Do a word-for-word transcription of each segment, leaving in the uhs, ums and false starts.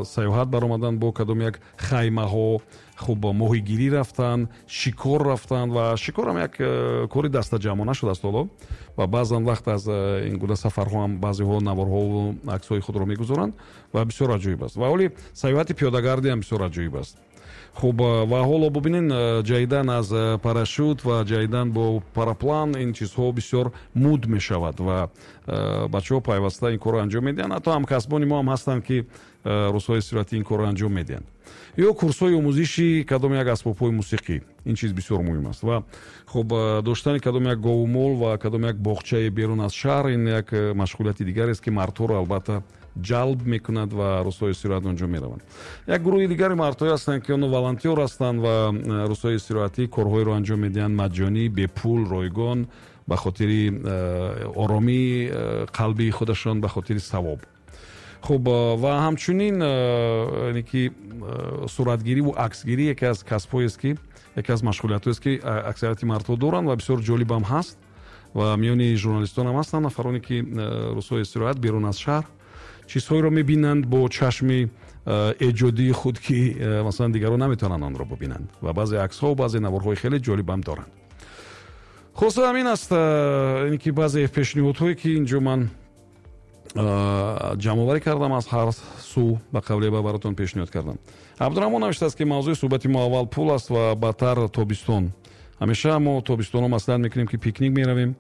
сайёҳат баромадан бо кадом як хаймаҳо, хуб моҳигирӣ рафтан, шикор рафтан ва шикорам як кори дастаҷамъона шудааст ҳоло ва баъзан вақт аз ин гуна сафарҳо ҳам баъзеҳо наворҳову аксҳои худро мегузоранд ва бисёр аҷоиб аст. Ва ҳоли сайёҳати пиёдагардӣ ҳам бисёр аҷоиб аст. Хуб, ва ҳоло бубинен, ҷаҳидан аз парашют ва ҷаҳидан бо параплан, ин чизҳо бисёр муд мешавад ва бачаҳо пайваста ин корро анҷом медиҳанд. Ҳатто ҳамкасбони мо ҳам ҳастанд, ки рӯзҳои истироҳатӣ ин корро анҷом медиҳанд. Ё курсҳои омӯзиши кадом як асбобҳои мусиқӣ, ин чиз бисёр муҳим аст. Ва хуб, доштани кадом як говумол ва кадом як боғчаи берун аз шаҳр, ин як машғулияти дигарест, ки мардҳоро албатта ҷалб мекунад ва рӯзҳои истироҳат онҷо мераванд. Як гурӯҳи дигари мардҳое ҳастанд, ки онҳо волонтёр ҳастанд ва рӯзҳои истироҳатӣ корҳоеро анҷом медиҳанд маҷҷонӣ, бепул, ройгон, ба хотири оромии қалби худашон, ба хотири савоб. Хуб, ва ҳамчунин яъне ки суратгирӣ ва аксгирӣ яке аз касбҳоест, ки яке аз машғулиятҳоест, ки аксарияти мардҳо доранд ва бисёр ҷолиб ҳам ҳаст. Ва миёни журналистон ҳам ҳастанд нафароне, ки рӯзҳои истироҳат берун аз шаҳр чизҳоеро мебинанд бо чашми эҷодии худ, ки масалан дигарон наметавонанд онро бибинанд ва баъзе аксҳо, баъзе наворҳои хеле ҷолиб ҳам доранд. Хулоса ҳамин аст, яъне ки баъзе пешниҳодҳое, ки инҷо ман ҷамъоварӣ кардам аз ҳар сӯ, ба қавле ба баротон пешниҳод кардам. Абдураҳмон навиштааст, ки мавзӯи суҳбати мо аввал пул аст ва баъдтар тобистон. Ҳамеша мо тобистонҳо маслиҳат мекунем, ки пикник меравем,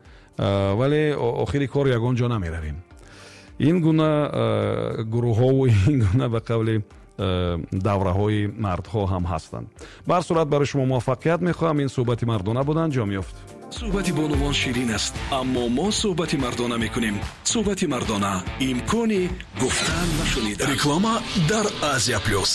вале охири кор ягон ҷо намеравем. Ин гуна гурӯҳҳову ин гуна ба қавли давраҳои мардҳо ҳам ҳастанд. Ба ҳар сурат барои шумо муваффақият мехоҳам. Ин суҳбати мардона буд, анҷом ёфт. Суҳбати бонувон ширин аст, аммо мо суҳбати мардона мекунем. Суҳбати мардона имкони гуфтан ва шунидан. Реклама дар Азия Плюс.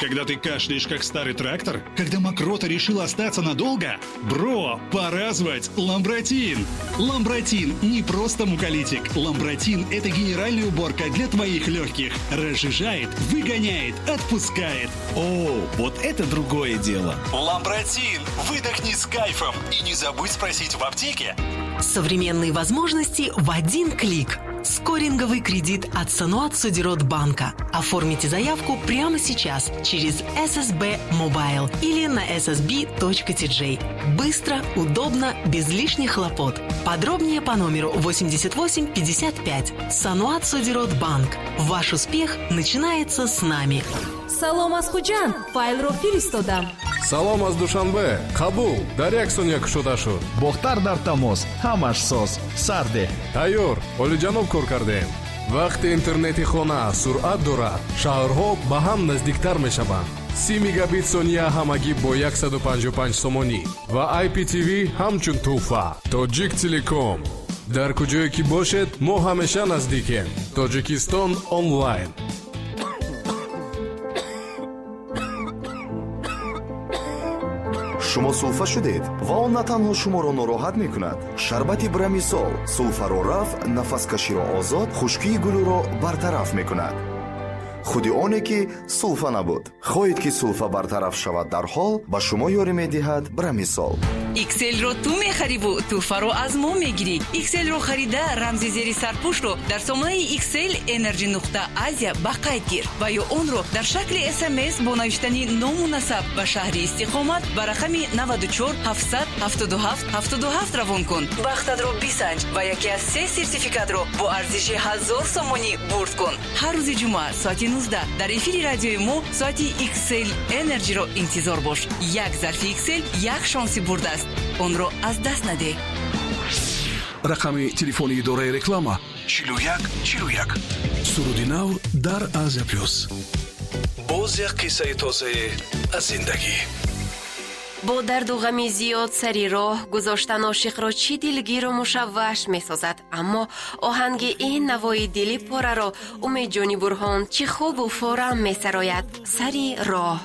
Когда ты кашляешь, как старый трактор? Когда мокрота решила остаться надолго? Бро, пора звать Ламбратин! Ламбратин не просто муколитик. Ламбратин – это генеральная уборка для твоих легких. Разжижает, выгоняет, отпускает. О, вот это другое дело! Ламбратин! Выдохни с кайфом и не забудь спросить в аптеке. Современные возможности в один клик. Скоринговый кредит от Саноат Содирот Банка. Оформите заявку прямо сейчас через эс эс бэ Mobile или на эс эс би точка ти джей. Быстро, удобно, без лишних хлопот. Подробнее по номеру восемьдесят восемь пятьдесят пять. Саноат Содирот Банк. Ваш успех начинается с нами. Салом аз Хуҷанд, файлро фиристодам. Салом аз Душанбе, қабул, дар як сония кушода шуд. Бохтар дар тамос, ҳамаш соз, сарде. Тайёр, олиҷаноб кор кардем. Вақти интернети хона суръат дорад, шаҳрҳо ба ҳам наздиктар мешаванд. Си мегабит сония ҳамагӣ бо яксаду панҷоҳу панҷ сомонӣ ва ай пи ти ви ҳамчун тӯҳфа. Тоҷик Телеком. Дар куҷое ки бошед, мо ҳамеша наздикем. Тоҷикистон онлайн. Шумо сулфа шудед ва он на танҳо шуморо нороҳат мекунад. Шарбати Брамисол сулфаро рафъ, нафаскаширо озод, хушкии гулӯро бартараф мекунад. Худи оне ки сулфа набуд. Хоҳед ки сулфа бартараф шавад дарҳол, ба шумо ёрӣ медиҳад Брамисол. Икселро ту мехариву тӯҳфаро аз мо мегирӣ. Икселро харида рамзи зери сарпӯшро дар сомонаи Иксел Energy нуқта Азия ба қайд гир ва ё онро дар шакли СМС бо навиштани ному насаб ба шаҳри истиқомат ба рақами наваду чор ҳафтсад ҳафтоду ҳафт ҳафтоду ҳафт равон кун. Бахтатро бисанҷ ва яке аз се сертификатро бо арзиши ҳазор сомонӣ бурд кун. Ҳар рӯзи ҷумъа соати нуздаҳ дар эфири радиои мо соати Иксел Energy-ро интизор бош. Як зарфи Иксел як шонси бурдааст. Онро аз даст надеҳ. Рақами телефони идораи реклама чилу як чилу як. Суруди нав дар Азия Плюс. Боз як қиссаи тозае аз зиндагӣ. Бо дарду ғами зиёд сари роҳ гузоштан ошиқро чӣ дилгиру мушавваш месозад, аммо оҳанги ин навои дили пораро Умедҷони Бурҳон чӣ хубу форам месарояд. Сари роҳ.